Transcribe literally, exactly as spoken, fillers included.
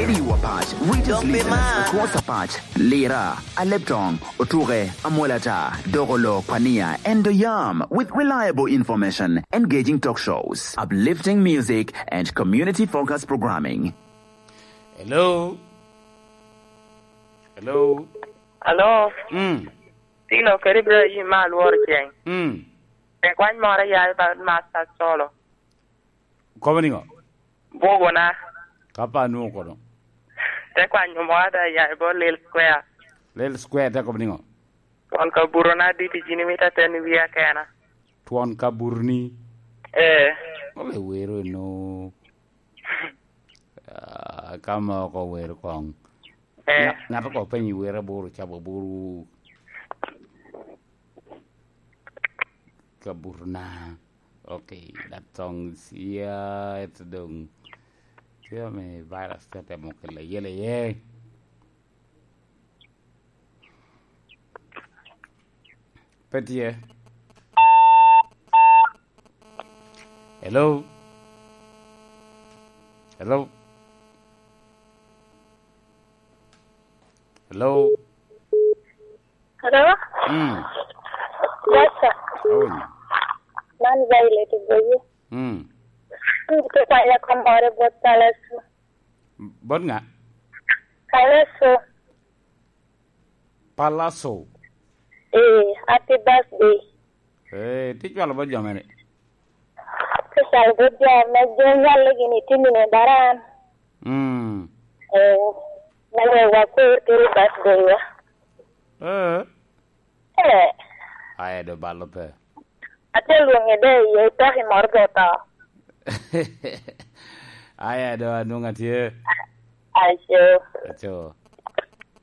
Area Patch reaches listeners across Apatch, Lira, Aleptong, Otuke, Amolata, Dogolo, Kwania, and Doyam with reliable information, engaging talk shows, uplifting music, and community-focused programming. Hello? Hello? Alo, Mm. Tino kede Ibrahim ma alworo ceng. Mm. Te kwany moro ya i ba Master Solo. Kobo niŋo? Bwogona. Ka pa nwoŋo kono. Te kwanyo moro da ya i bot Lil Square. Lil Square te kobo niŋo? Twon ka burona dit i jini mita ten i wia kena. Twon ka burni? Eh. Ole wero eno. Ah, ka ma oko wero koŋ. Eh. Ŋa-, ŋat oko penyo wero aboro cabo aboro. Ka burna. Okay, that song is here. Ito dong. Tye me virus te temo kela yele ye. Pe tye. Hello? Hello? Hello? Hello? Mm. Yes, sir. How are you? Man Violet Iboye. Mm. An tye kwanya komore bot Palaso. Bot ŋa? Palaso. Palaso. Eh, happy birthday. Eh, tye cwalo bot jo mere. Tye cwalo bot jo me jo nyalle gini tye mine daran. Mm. Eh, me wek wakur kede birthday wa. Eh. Eh. Aye do balo pe. Ate lwoŋe de iye itoki moro de oto. Aya do anwoŋo atye. Aco. Aco.